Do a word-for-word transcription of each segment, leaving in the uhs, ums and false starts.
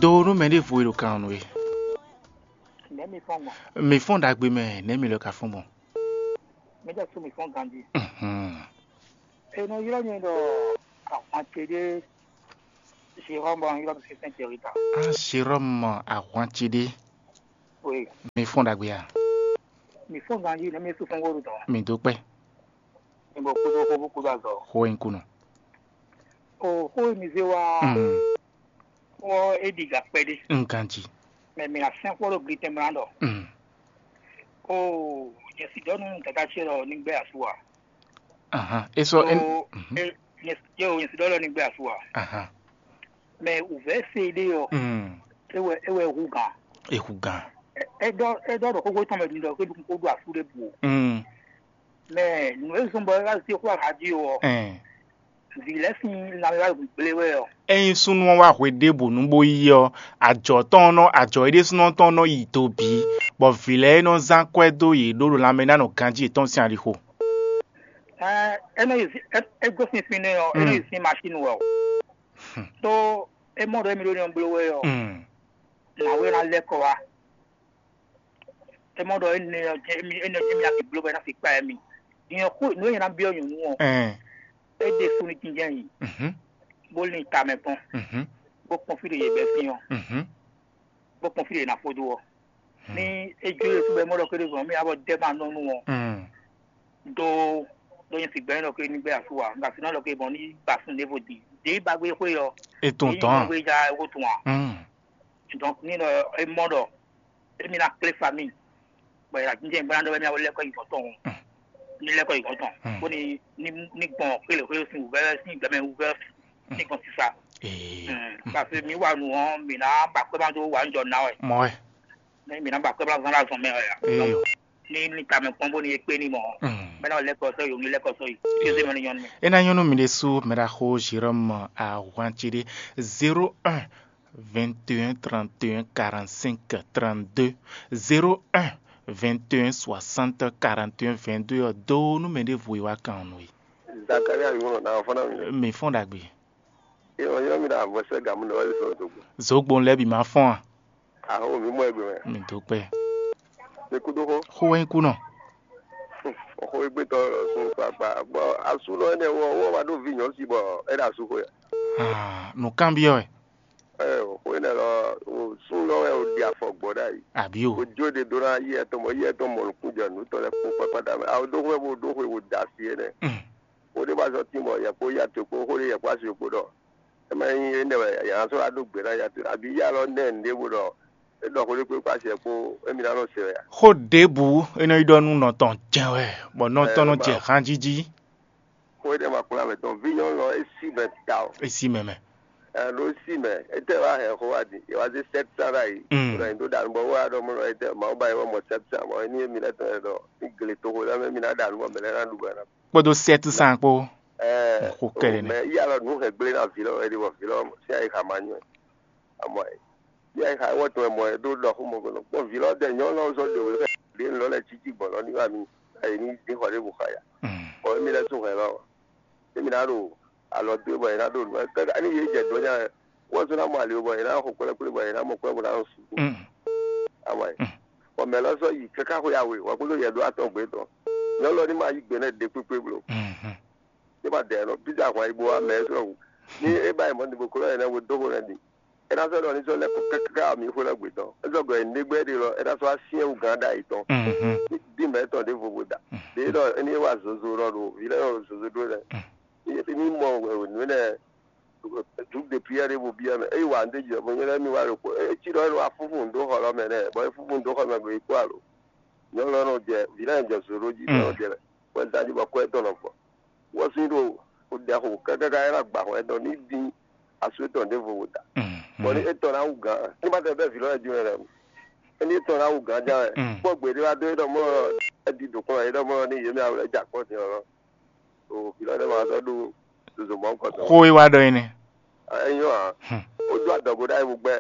Do nú mɛ ɖěvo e ɖo kan ɔ́ nú we. Nɛ̌ mi fɔ́n gbɔn? Mi fɔ́n ɖagbe mɛ, nɛ̌ mi lɔ ka fɔ́n gbɔn? Mi ɖɔ sú mi fɔ́n ganjí. Mhm. E nɔ ylɔ́ nyɛ ɖɔ ahwan ce ɖé Jérôme bɔ ylɔ́ mi Sɛ́ntɛrita. Ah, Jérôme ahwan ce ɖé. Oui. Mi fɔ́n ɖagbe a? Mi fɔ́n ganjí, nɛ̌ mi sú fɔ́n wóɖu tɔn? Mi dó kpɛ́. Mi bɔ kúdó xó bó kúdó azɔ. Xó e un kú nɔ. O xó e mi zé wá Mm. Xó ɔ́, é ɖi gǎ kpɛɖé. Un ganjí. Mɛ mi ná sɛn xó ɖo glitɛn mlá ɖɔ. Mm. O nyɛ si ɖɔ nú dada ce ɖɔ ní gbɛ asú a? Ahan. É sɔ́ é. O Mhm. É nyɛ si ɖɔ ní gbɛ asú a? Ahan. Mɛ wǔvɛ́ se ɖé ɔ́, Mm. É wɛ é wɛ hu gǎn. É hu gǎn. É ɖɔ é ɖɔ ɖɔ xóxó tɔn mɛ ɖi ɖɔ xé ɖukún xó ɖo asú ɖé bu o. Mm. Mɛ nǔ e zɔ́n bɔ é wá zé xó aha jí o ɔ́, Ɛn. Vǐ lɛ́ɛ sín lanmɛ wá gblé wɛ ɔ́. Ényí súnnu ɔ́ wá hwe ɖěbǔ nú bó yí ɔ́, ajɔ̌ tɔn ɔ́ nɔ ajɔ̌ é ɖésúnɔ tɔn nɔ yi do bǐ, bɔ vǐ lɛ́ɛ e nɔ zán kwɛ́ dó yě ɖó ɖo lanmɛ ná nɔ ganjí yětɔn sín alixo. Ɛ é nɔ yi zí- é- é gosín fínɛ́ ɔ́, é nɔ yi Mm. zín masín wɛ o. Hmm. Tó é mɔ ɖɔ émí ɖó ní ɔ́ bló wɛ ɔ́, Mm. Nǎwe ná lɛ́ kɔ wá. É mɔ ɖɔ énɛ́ ɔ́ jɛ́n émí énɛ́ ɔ́ jɛ́n émí ná fi bló bɔ é ná fi kpa émí. Din ɔ́ xó nǔ e nyɛ ná byɔ́ nyɔ̌nu ɔ́, É. É ɖe sunnu jínjɛ́n nyi, Mhm. Bó lin tamɛ kpɔ́n, Mhm. Bó kpɔ́n fí ɖě yě bɛ́ sín ɔ́, Mhm. Bó kpɔ́n fí ɖě ná fó dó ɔ́. Hmm. Ní é jó yě sú bɔ é mɔ ɖɔ xwé ɖé zɔn mì abɔ dɛ́ ma nɔ nú ɔ́, Hmm. Dó dó nyɛ sigbɛ́ ɖɔ xwé ní gbé asú wa, un ka si ná ɖɔ xwé bɔn ní ba sun ɖěvo din. Dě ba gbé xwé ɔ́, É tún Èyí tɔn. Gbé ja é xó tún wa. Hmm. Donc ní ɖɔ é mɔ ɖɔ émí ná clé famille. Bɔ è nǎ jínjɛ́n bó ná ɖɔ wɛ mì awɔ lɛ́kɔ yi gɔ̌n tɔn. Ní lɛ́kɔ yi gɔ̌n tɔn. Bó ní ní ní gbɔn xwé lě xwé sín wǔvɛ́ sín gbɛmɛ wǔvɛ́ ní gbɔn sisa. Ee. Parce que mǐ wa nǔ ɔ́, mǐ ná ba kpɛ́ má dó wa nǔ jɔ ná wɛ. Mɔ wɛ. Mǐ ná ba kpɛ́ má zán ɖo azɔn mɛ wɛ. Ee. Ní ní tamɛ kpɔ́n bó ní é kpé ní mɔ. Mɛ ná lɛ́kɔ sɔ́ yi, o ní lɛ́kɔ sɔ́ yi. Kézé mɛ ní nyɔ́ nú mì. É ná nyɔ́ nú mǐ ɖésú mɛ ɖaxó Jérôme Ahwantiɖé. Zéro un vingt et un trente et un quarante-cinq trente-deux, zéro un vingt et un soixante quarante et un vingt-deux ɔ́ dó nú mɛ ɖěvo e wá kan ɔ́ nú we. Zakaria yǒnɔ ná fɔ́n ná mi. Mi fɔ́n ɖagbe. É wɔ yɔ́ mi ɖo avɔsɛ gamú ɖɔ wɛ sɔ dogbo. Zogbon lɛ́ɛ bǐ ma fɔ́n a? Aho mi mɔ egbe mɛ. Mi dó kpɛ. Mi kúdó xó. Xó wɛ nyí kú nɔ. Xó égbé tɔ sun kpakpa. Bɔ asúnɔ énɛ́ wɔ wɔ wá ɖó vi nyɔ̌si bɔ é ɖo asú xó ya. Ah, nǔkanbyɔ́ wɛ. Ɛ o xó énɛ́ lɔ o súnlɔ wɛ o ɖi afɔ gbɔ ɖ'ayǐ. Àbí o. O jó ɖe ɖó ná yí ɛtɔn bɔ yí ɛtɔn mɔ nukún jɔ nǔ tɔn lɛ́ɛ kpó kpákpáta mɛ. A o ɖó xó wɛ bó ɖó xwe bó da asi énɛ́. Mm. Xó ɖé wá zɔ tín bɔ yɛ kpó yí ato kpó xó ɖé yɛ kpó asi kpó ɖɔ. É ma nyí énɛ́ wɛ yɛ ná sɔ́ wá ɖó gbe ná yɛ ato abǐ yá lɔ nɛ́ nǔɖé bó ɖɔ é ɖɔ xó ɖé kpó kpó asi kpó émi ná nɔ se wɛ a. Xó ɖěbǔ é nɔ yi ɖɔ nú nɔ tɔn jɛ́n wɛ, bɔ nɔ tɔn nɔ jɛ hanjíjí. Xó énɛ́ ma kplá mɛ tɔn vǐ nyɔ́nu ɔ́ é sí mɛ ta o. É sí mɛ mɛ. Ɛ ɖó sí mɛ, étɛ́ wá hɛn xó wá di, é wá zé sɛ́t sán ɖ'ayǐ. Mm. Ɖɔ nyi ɖó ɖa nǔ bɔ wá ɖɔ mɔ ɖɔ étɛ́ Mawu ba yi wɔ mɔ sɛ́t sán bɔ é ní émi lɛ́ɛ tɔn lɛ́ɛ ɖɔ ní gle toxo lɛ́ɛ mɛ mi ná ɖa nǔ bɔ mɛ lɛ́ɛ ná ɖu bɔ ná. Kpódó sɛ́t sán kpó. Ɛ Xó kɛɖɛ nɛ́. Mɛ yí alɔ nǔ hɛn gblé ná vǐ lɔ wɛ ɖi bɔ vǐ lɔ sín ayi xa ma nyɔ. Amɔ ɛ. Yɛ xa wɔ tɔn mɔ ɛ ɖó ɖɔ xó mɔ gɔnɔ. Kpɔn vǐ lɔ dɛ nyɔ lɔ zɔ ɖe wɛ ɖe lɔ lɛ títí gbɔn lɔ ní wà mí. Ayi ní dín xɔ ɖé bu xa ya. Mm. Bɔ émi lɛ tún hɛn lɔ. Émi ná ɖo alɔ dó bɔ yě ná ɖo nǔ. Kaka ní yě jɛ dó nya wɛ. Wɔ zó ná mɔ ali bɔ yě ná xɔ kplɛ́kplɛ́ bɔ yě ná mɔ kplɛ́ bɔ ná su. Mm. Amɔ ɛ. Mm. Bɔ mɛ lɔ sɔ yi kaka xwe awe wɔ kpódó yɛ ɖó atɔn gbé tɔn. Nyɔ lɔ ní ma yí gbe nɛ ɖe kpékpé blo. Mhm. Ní ma dɛ nɔ bí dó ahwan yi bó wá mɛ sɔ wò. Ní é bá yi mɔ ní bó kó lɔ yɛ nɛ wo dó xó nɛ ní. É ná sɔ́ ɖɔ ní sɔ́ lɛ́ kɔ káká mi xwé lɛ́ gbětɔn. É sɔ́ gɔ̌ yi négbé ɖé lɔ, é ná sɔ́ wá syɛ́n wú gǎn ɖ'ayǐ tɔn. Mhm. Ní mɛ tɔn ɖěvo vo da. Ɖě ɖɔ é ní wá zozo ɖɔ ɖo vǐ lɛ́ɛ ɖo zozo ɖó lɛ́ɛ. Ní mɔ nǔ énɛ́ dǔ de prière ɖé bo byɔ́ mɛ. É yi wǎ ɖé jɛ bɔ nyɛ lɛ́ɛ mi wá ɖo kpó. É cí ɖɔ é nɔ wá fúnfún nǔ dó xɔ lɔ mɛ nɛ́, bɔ é fúnfún nǔ dó xɔ mɛ gbe yi kpó alo. Nyɔ̌nu lɔ nɔ jɛ vǐ lɛ́ɛ jɛ zozo jí nɔ jɛ wɛ da jí bɔ kɔ́ ɛtɔn nɔ fɔ. Wɔ sín ɖo o ɖɛ xo kákáká é ná gba xɔ ɛtɔn ní dín asú étɔn ɖěvo wò da. Bɔ ní étɔn ná wú gǎn, ní ma tɛ bɛ́ vǐ lɔ jí wɛ lɛ. Éní étɔn ná wú gǎn já wɛ. Kpɔ́ gbě ɖé wá dó é ɖɔ mɔ ɛ di dǒ kplɔ́n é ɖɔ mɔ ní yě mɛ awlɛ ja kpɔ́ din ɔ́. O vǐ lɔ ɖé ma sɔ́ ɖó zozo mɔ̌ kɔtɔn. Xó e wá ɖɔ é nɛ́. Ɛnyɔ́ ǎ. Ó dó adɔgo ɖ'ayǐ wú gbɛ.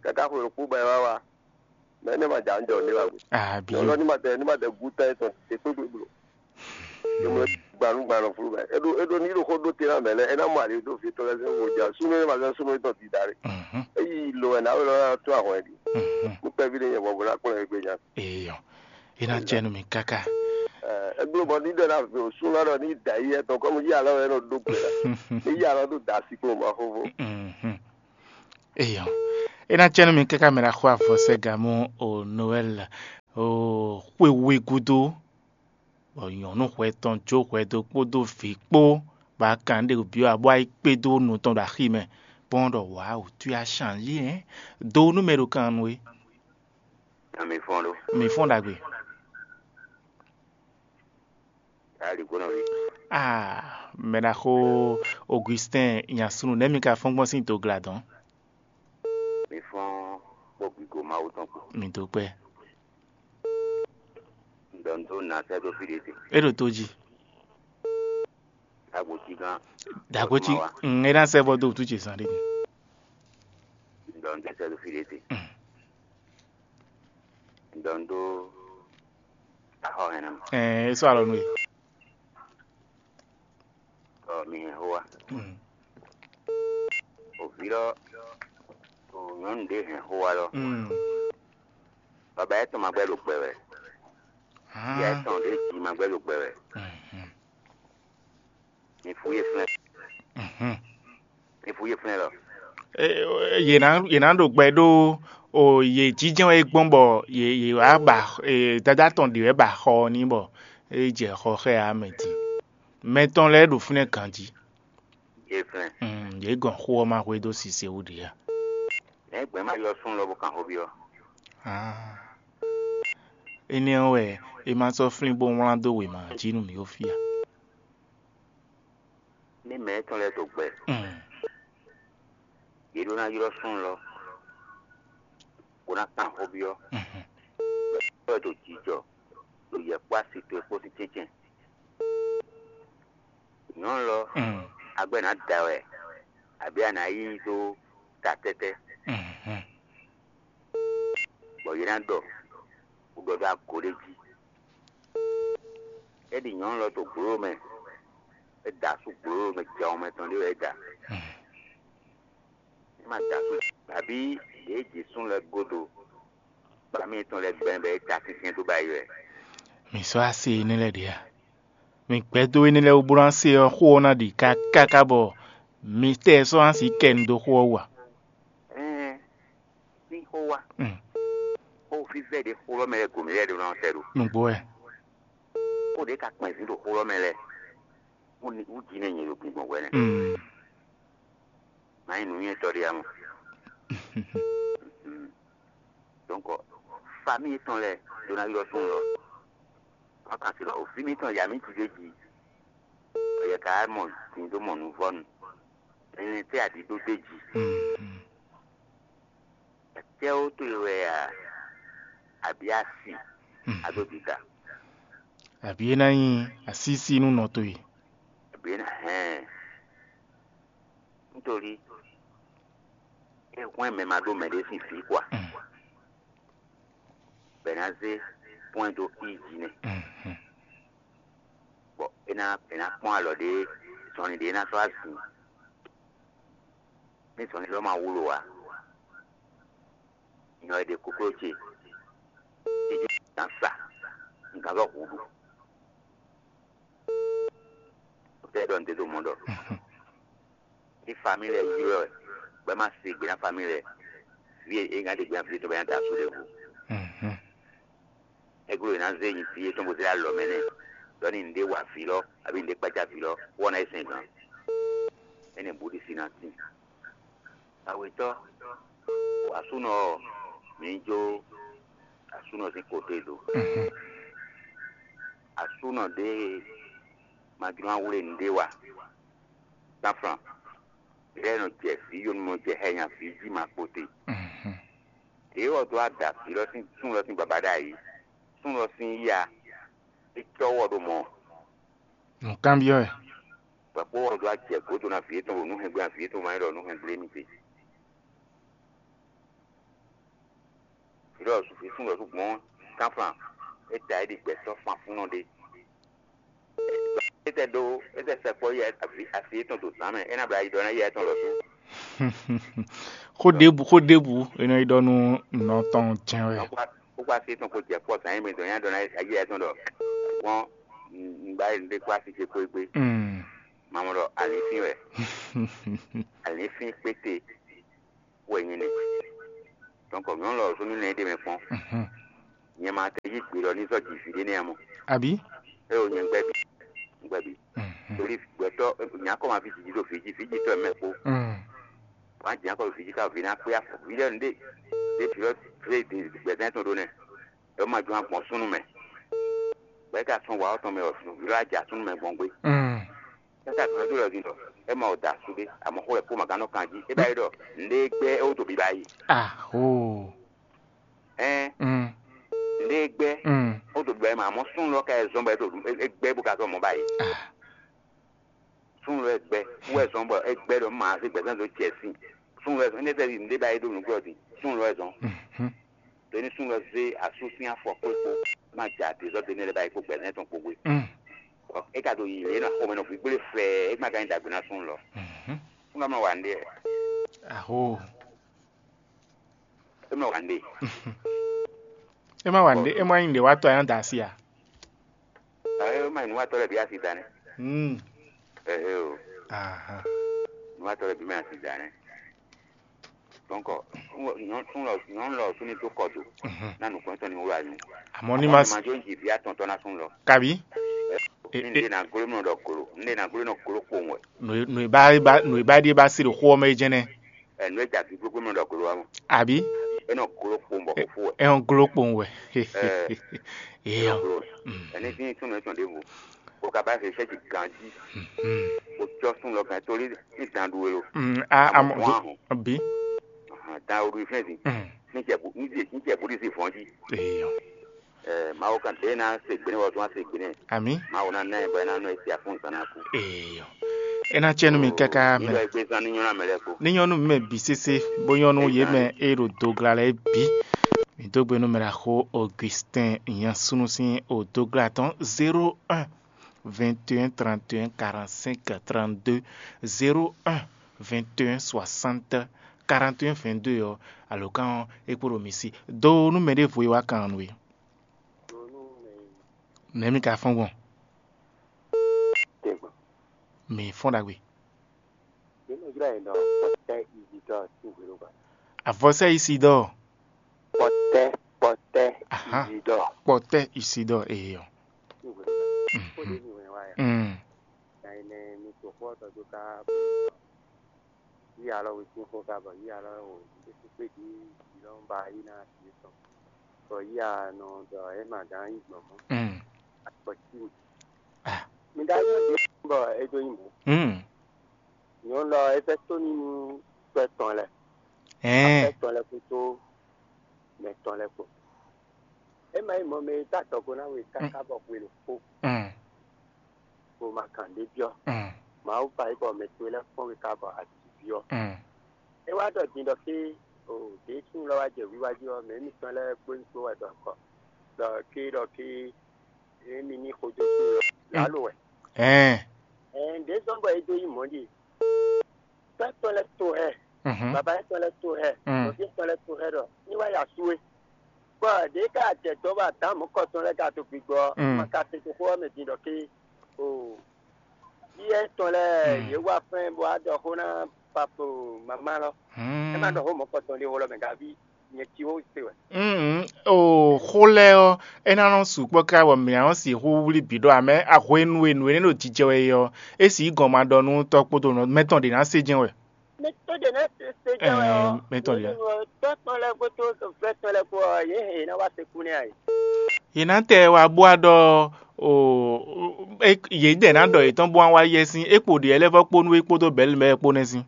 Káká xwe ɖokpó bɔ é wá wá. Mɛ énɛ́ ma jǎ ń jɔ ní wá gbe. Àbí. Nyɔ̌nu ní ma tɛ ní ma tɛ gú tán étɔn é kpékpé blo. Nyɔ̌nu gbanúgban nɔ flu mɛ. É ɖo é ɖo ní ɖo xó ɖó te ná mɛ lɛ, é ná mɔ ali ɖó fi tɔn lɛ́ɛ sɛn xó ja. Súnú é ma zɔn súnú é tɔn dida ɖe. É yi lo wɛ ná wɛ lɔ ná tó ahɔn ɛ ɖi. Nú kpɛví ɖé nyɛ bɔ bó ná kplɔ́n ɛ gbé nya. Eyɔ, é ná jɛ nú mi káká. Ɛ, é gbló bɔ ní ɖɔ ná vé o súnú lɔ ní da yi etɔn kɔmi yi alɔ wɛ nɔ ɖó gbe la. Ní yi alɔ ɖó da asi kplɔ́n ma xófó. Eyɔ, é ná jɛ nú mi káká mɛ ɖaxó avɔsɛ́gamú o Noɛl o xwé wé gúdo. Bɔ nyɔ̌nu hwɛ tɔn jó hwɛdo kpódó vǐ kpó, bɔ a kan ɖe byɔ́ abɔ ayí kpé dó nu tɔn ɖo axi mɛ, kpɔ́n ɖɔ wǎ wǔtu a shanjí hɛn dó nú mɛ ɖo kan nú we. Ami fɔ́n ɖó. Mi fɔ́n ɖagbe. Ali gbɔnɔ vi. Ah, mɛ ɖaxó Augustin nyasunu nɛ́ mi ka fɔ́n gbɔn sín dogla dɔn. Mi fɔ́n kpó gbigo Mawu tɔn kpó. Mi dó kpɛ. Dɔn dó na sɛ́ dó fí ɖé te. É ɖo tó jí. Dagbo cí gán. Dagbo cí. Mawa. Mm, é ná sɛ́ bɔ dó wútu ce zán ɖé. Dɔn dó sɛ́ dó fí ɖé te. Mm. Dɔn dó axɔ hɛn ná. Ɛɛ, é sɔ́ alɔ nú we. Ɔ mi hɛn xó wa. Mm. Òví lɔ, ò nyɔ̌nu ɖé hɛn xó wa lɔ. Mm. Baba yɛ tɔn ma gbɛ ɖo gbɛ wɛ. Ah. Yɛ tɔn ɖé jí ma gbɛ ɖo gbɛ wɛ. Mhm. Mi fú yé flɛ́. Mhm. Mi fú yé flɛ́ lɔ. Yě ná yě ná ɖo gbɛ ɖó o yě jínjɛ́n wɛ gbɔn bɔ yě yě wá ba e, dada tɔn ɖě wɛ ba xɔ ɔ́ ní bɔ é jɛ xɔ xɛ ǎ mɛ din. Mɛ tɔn lɛ́ɛ ɖo fínɛ́ ganjí. Yé flɛ́. Mm, yě gɔn xó ɔ́ ma hwedó sise wú ɖě a? Nɛ̌ gbɛ̌ ma ylɔ́ súnnu lɔ bó kan xó byɔ́? Ah. Énɛ́ ɔ́ wɛ é ma sɔ́ flín bó wlán dó wěma jí nú mǐ ɖo fí a? Ní mɛ étɔn lɛ́ɛ ɖo gbɛ, mm, yě ɖó ná ylɔ́ súnnu lɔ, bó ná kan xó byɔ́. Mhm. Bɔ é ɖo jijɔ ɖo yɛ kpó asi towe kpó sín cɛ́ncɛ́n. Nyɔ̌nu lɔ, mm, agbɛ́ nǎ da wɛ, abǐ a nǎ yí i dó ta tɛ́tɛ́, mhm, bɔ yě ná ɖɔ, bó ɖɔ dó ago ɖé jí. É ɖi nyɔ̌nu lɔ to gblo mɛ, é da asú gblo mɛ, jɛ mɛ tɔn ɖé wɛ é da. Mhm. É ma da asú, abǐ yě jǐ súnnu lɛ́ɛ godo, bɔ ami yětɔn lɛ́ɛ gbɛn bɔ é ta syɛ́nsyɛ́n dó ba yi wɛ. Mǐ sɔ́ asi énɛ́ lɛ́ɛ ɖě a? Mǐ gbɛ́ dó énɛ́ lɛ́ɛ wú bó ná se ɔ́, xó ɔ́ ná ɖi káká bɔ mǐ tɛ sɔ́ ná sǐ kɛ nu dó xó ɔ́ wú a? Ɛ́n, sín xó wá. Mm. Xó fívɛ́ ɖě xó lɔ́ mɛ lɛ́ɛ gǒmɛ lɛ́ɛ ɖó ná sɛ ɖo. Nǔgbó wɛ. Xó ɖě ka kpɛn zǐn ɖo xó lɔ́ mɛ lɛ́ɛ. Wú ni wú jí nɛ nyɛ ɖo gbǐgbɔn hwɛ nɛ́. Mm. Má nyí nǔnywɛ́tɔ́ ɖé ǎ mɔ. Mm. Donc, famille tɔn lɛ́ɛ ɖó ná ylɔ́ súnnu lɔ. Má kan se lɔ, vǐ mitɔn ya mǐ jí ɖé jí. Yɛ ka mɔ din dó mɔ nǔvɔ́nu. Ɛnɛ tɛ́ aɖǐ ɖó ɖé jí. Mm, mm. Acɛ́wó towe wɛ a, abǐ asi, mm, a dó dida. Abǐ é ná nyí asísí nú nɔ towe. Abǐ é ná hɛn. Nítorí é hwɛ́n mɛ ma ɖó mɛɖé sín vǐ kɔ a? Mm. Bɔ è nǎ zé pɔ́n ɛ dó i jí nɛ́. Mhm. Bɔ é ná è nǎ kpɔ́n alɔ ɖé, zɔnlin ɖé é ná sɔ́ azǐn. Ní zɔnlin lɔ ma wló ǎ, nyɔ è ɖe kokló ce, é jɛ nǎ sa, un gǎn vɔ hǔ ɖu. Tɛ ɖɔ nǔɖé ɖo mɔ̌ ɖɔ. Mhm. Ní famille lɛ́ɛ ylɔ́ ɛ, bɔ é ma se gbe ná famille lɛ́ɛ. Vǐ e é ná ɖe gbe ná vǐ tɔn bɔ é ná da asú ɖěvo. Mhm. É gló è nǎ zé nyi vǐ yětɔn bó zé alɔ mɛ nɛ́. Ɖɔ ní nǔɖé wa vǐ lɔ, abǐ nǔɖé kpácá vǐ lɔ, wɔ ná é sɛn gǎn. Énɛ́ bǔ ɖi si ná tín. Awětɔ́, asúnɔ ɔ́, mǐ jó asúnɔ sín kote do. Mhm. Asúnɔ ɖé ma jló ná wlé nǔɖé wa. Tánflan, ɖě nɔ jɛ vǐ yonumɔ jɛ hɛ nya vǐ jí ma kpo te. Mhm. Ɖě wɔ dó ada vǐ lɔ sín súnnu lɔ sín baba ɖ'ayǐ. Súnnu lɔ sín yíya, é cɔ́ wɔ ɖó mɔ̌. Nǔkanbyɔ́ wɛ. Bɔ kpó wɔ dó ajɛ gǒdo ná vǐ étɔn ɖo nǔhɛngbé ná vǐ étɔn ma nyí ɖɔ nǔhɛngbé émí te. Vǐ lɔ vǐ súnnu lɔ sú gbɔn tánflan, é da é ɖi gbɛ sɔ́ fanfúnnɔ ɖé. É tɛ ɖó é tɛ sɛkpɔ́ yɛ asi yětɔn ɖo zǎn mɛ, é ná bló ayi ɖɔ ná yɛ étɔn lɔ dó. Xó ɖěbǔ xó ɖěbǔ è nɔ yi ɖɔ nú nɔ tɔn jɛ́n wɛ. Kókó asi yětɔn kó jɛ kpɔ́ zǎn yě mɛ dɔn nyá ɖɔ ná yɛ étɔn ɖɔ gbɔn un ba ɖe kó asi ce kó gbé. Mm. Mamɔ ɖɔ alǐfín wɛ. Alǐfín kpéte wɛ nyɛ nɛ. Donc nyɔ̌nu lɔ zɔn nú nɛ ɖé mɛ kpɔn. Mhm. Nyɛ ma tɛ yí gbe lɔ ní zɔ ji vǐ ɖé nɛ́ mɔ. Àbí? É o nyɛ gbɛ́ bǐ. Gbɛ́ bǐ. Mhm. Torí gbɛtɔ́ nyakɔ ma fi jiji ɖo vǐji vǐji tɔ́ mɛ kpó. Mm. Wǎn jǐ akɔ vǐji ká vǐ ná kpé afɔ vǐ lɛ́ɛ nɖé. Ɖé vǐ lɔ vǐ gbɛzán tɔn ɖó nɛ. É ma jɔ́n agbɔn súnnu mɛ. Bɔ é ka sɔn wǎ ɔ́ tɔn mɛ ɔ́, vǐ lɔ ajǎ súnnu mɛ gbɔn gbé. Mm. Káká gbɛ́ dó lɔ din ɖɔ é ma wɔ da asú ɖé, amɔ̌ xó wɛ kó ma gán nɔ kan jí. É ba yi ɖɔ nɖé gbɛ́ é wó to biba yi. Aho. Ɛn Mm. Nɖé gbɛ́ Mm. ó to biba yi ma, amɔ̌ súnnu lɔ ka yi zɔn bɔ é to é gbɛ́ bó ka zɔn mɔ̌ ba yi. Ah. Súnnu lɔ é gbɛ́ wɛ zɔn bɔ é gbɛ́ ɖɔ má zé gbɛzán dó jɛ sín. Súnnu lɔ é zɔn, énɛ́ tɛ́ nɖé ba yi ɖó nǔgbó ɔ́ din, súnnu lɔ é zɔn. Mhm. Ɖó ní súnnu lɔ zé asú sín afɔ kpó kpó má ja dezɔ́ dé nɛ́ lɛ́ɛ ba yi kpó gbɛzán tɔn kpó gbé. Mm. É ka ɖo yi lě nɔ xomɛ nɔ gbígbélé fɛ́ɛ, é má ka nyí ɖagbe ná súnnu lɔ. Mhm. Súnnu lɔ mɔ wa nɖé. Aho. É mɔ wa nɖé. É má wa nɖé, é má nyí nɖé wá tɔ ayán da asi a? Ɛ é má nyí nǔwatɔ́ lɛ́ɛ bǐ asi da nɛ́. Hmm. Ɛhɛ o. Aha. Nǔwatɔ́ lɛ́ɛ bǐ má nyí asi da nɛ́. Donc nyɔ̌nu lɔ nyɔ̌nu lɔ súnnu tó kɔ do. Mhm. Ná nǔkplɔ́ntɔ́ ní wló anyǔ. Àmọ́ ní ma ma jó ji vǐ atɔntɔ́ ná súnnu lɔ. Kabi? Ní nɖé ná gló nɔ ɖɔ glo, nɖé ná gló nɔ gló kpowun wɛ. Nǔ e- nǔ e bá é bá nǔ e bá ɖíe bá se ɖo xó ɔ́ mɛ é jɛ́n nɛ́. Ɛnu e ja gbígbógbó mɛ ɖɔ glo ɔ́ mɔ. Àbí? É nɔ glo kpowun bɔ xo fó wɛ. É nɔ gló kpowun wɛ. Eyɔ. Glo. Mm. Ɛni sín súnnu etɔn ɖěvo. Bó ka bá se sɛ́ ji ganjí. Mm. Bó cɔ́ súnnu lɔ gán torí ní dan ɖu e lo. Mm, a- Amɔ amɔ vɔn ahɔn. Bí? Ahan, dan o ɖu fɛn din. Mm. Ní jɛ bu ní jɛ ní jɛ bu ɖi si vɔn jí. Eyɔ. Ɛ Mawu kan ɖe ná se gbe nɛ wɔ tún ase gbe nɛ. Ami. Mawu ná ná ɛ bɔ ɛ ná nɔ ɛ sia fún zan ná kú. Eyɔ. É ná cɛ nú mi káká mɛ. Nílò ẹgbẹ́ zan ní nyɔ́nà mɛ lɛ kó. Ní nyɔ́nú mi mɛ bǐ sésé bó nyɔ́nú yě mɛ e ɖo dogla lɛ́ɛ bǐ. Mi dó gbe nú mɛ ɖaxó Augustin Nyansúnú sín odogla tɔn zéro un vingt et un trente et un quarante-cinq trente-deux, zéro un vingt et un soixante quarante et un vingt-deux ɔ́, alǒkan ɔ́ é kpo ɖo mi sí. Do nú mɛ ɖěvo e wá kan nú we. Nɛ̌ mi ka fɔ́n gbɔn? Tɛgbɔn. Mi fɔ́n ɖagbe. Yě nɔ ylɔ́ ɛ ɖɔ Pɔtɛ́ Izidɔ́ɔ sín hwenu gbe. Avɔsɛ Isidɔ́ɔ. Pɔtɛ́ Pɔtɛ́ Aha. Izidɔ́ɔ Kpɔtɛ Isidɔ́ɔ eyɔ. Sín hwenu gbe. Kó ɖě mi wɛn wá ya. Mm. Nya énɛ́ mi to xó ɔ́ tɔ́ dó ká. Yí alɔ wěkwín xó ká bɔ yí alɔ wò ɖésú kpé ɖi yí lɔ ba yí ná asi yětɔn. Bɔ yí anɔ ɖɔ é ma gán yí gbɔn mɔ̌. Mm. Akpɔ tí mi. Ah. Mi ɖá yí ɖě bɔ é dó nyí mɔ̌. Mm. Nyɔ̌nu lɔ é fɛ́ tóní nú tɔ́ tɔn lɛ́ɛ. Ɛɛ. Tɔ́ tɔn lɛ́ɛ kpódó mɛ tɔn lɛ́ɛ kpó. É ma nyí mɔ̌ mɛ e tá adɔgo ná we káká bɔ hwenu kpó. Mm. Bó ma kàn ɖé byɔ́. Mm. Mawu ba yí bɔ mɛ towe lɛ́ɛ kpɔ́n we ká bɔ a ji byɔ́. Mm. É wá ɖɔ din ɖɔ fí o ɖě súnnu lɔ wá jɛ wiwa jí ɔ́, mɛ émítɔn lɛ́ɛ kpó nyí kpó wɛ ɖɔ kɔ ɖɔ ké ɖɔ ké émi ní xodó súnnu lɔ lǎlo wɛ. Ɛɛ. Ɛɛ, ɖě zɔ́n bɔ é dó nyí mɔ̌ ɖi. Tɔ́ tɔn lɛ́ɛ to hɛ, Mhm. Baba tɔn lɛ́ɛ to hɛ, Mm. Nɔví tɔn lɛ́ɛ to hɛ ɖɔ ní wá ya sú we. Bɔ ɖě ká jɛ dɔ̌ bɔ adǎn mɔ̌kɔ tɔn lɛ́ɛ ka to gbigbɔ ɔ́, Mm. ma ka se toxo ɔ́ mɛ din ɖɔ ké o. Yíyɛ tɔn lɛ́ɛ Mm. yě wá fɛ́n bó wá ɖɔ xó ná papo mama lɔ. É má Mm. ɖɔ xó mɔ̌kɔ tɔn ɖé xó lɔ mɛ gaví nyɛ cí xó se wɛ. Mm, o xó lɛ́ɛ ɔ́, é ná nɔ sukpɔ́ ká bɔ mǐ ná nɔ sixú wlí bǐ ɖɔ amɛ hwenu e nǔ énɛ́ ɖo jijɛ wɛ é ɔ́, é sǐ gɔn ma ɖɔ nú tɔ́ kpódó nɔ mɛtɔn ɖě ná sé jɛ́n wɛ. Mɛ tó ɖě ná se jɛ wɛ ɔ́, Ɛɛ, mɛtɔn ɖě. Tɔ́ tɔn lɛ́ɛ kpódó vɛ́ tɔn lɛ́ɛ kpó ɔ́, yě hɛn yě ná wá se kú nɛ́ a yě. Yě ná tɛ wá bó wá ɖɔ o yě dɛ̌ ná ɖɔ yětɔn bó wá wá yɛ sín é kpo ɖě lɛ́ɛ vɔ́ kpó nú é kpódó bɛ̌lu mɛ kpó nɛ́ sín.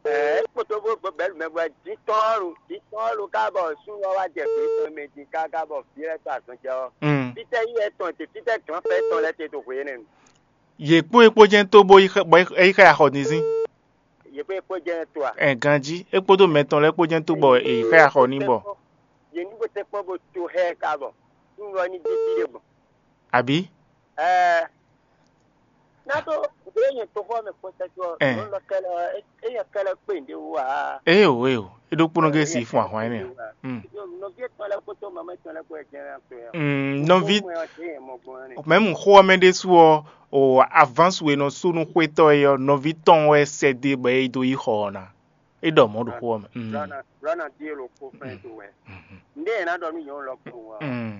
Ɛɛ, é kpódó bó bɛ̌lu mɛ bɔ jǐ tɔn ɔ́ ɖo jǐ tɔn ɔ́ ɖo ká bɔ súnnu ɔ́ wá jɛ gbě tɔn mɛ din káká bɔ vǐ lɛ́ɛ sɔ́ azɔn jɛ ɔ́. Mm. Fítɛ́ yí wɛ tɔn te, fítɛ́ glǎnfɛ́ tɔn lɛ́ɛ te ɖo hwě énɛ́ nu. Yě kpó é kpó jɛ́n tó bó yi xɛ- bɔ é yi xɛ axɔ din sín. Yě kpó é kpó jɛ́n to a? Ɛ ganjí é kpódó mɛ tɔn lɛ́ɛ kpó jɛ́n tó bɔ è yi xɛ axɔ ní bɔ. Yě ní bó tɛ́ kpɔ́n bó to xɛ ká bɔ súnnu ɔ́ ní dí fí ɖé gbɔn. Àbí? Ɛɛ. N'a ɖó ɖě nyɛ toxɔ mɛ kpɔtɛtɔ Ɛ. Lɔ kɛlɛ, eye kɛlɛ kpe ɖe wú a? Eye o, eye o. Eɖokpónɔ gé si fún ahwan énɛ́. Mm. Nɔvi etɔn lɛ kpótó mama etɔn lɛ kpó ɛ jɛn to ya. Mm, nɔvi Mɛ ɔ́ dé yɛ mɔ gbɔn ne. Mɛmu xó ɔ́ mɛ ɖésú ɔ́, o avance e nɔ sú nú xwétɔ́ é ɔ́, nɔví tɔn wɛ sɛ́ dé bɔ é dó yi xɔ ɔ́ ná. É ɖɔ mɔ̌ ɖo xó ɔ́ mɛ. Mm. Lɔna lɔna díe lo kó fɛn to wɛ. Ndé yẹn ná ɖɔ nú yẹn lɔ kó wa. Mm.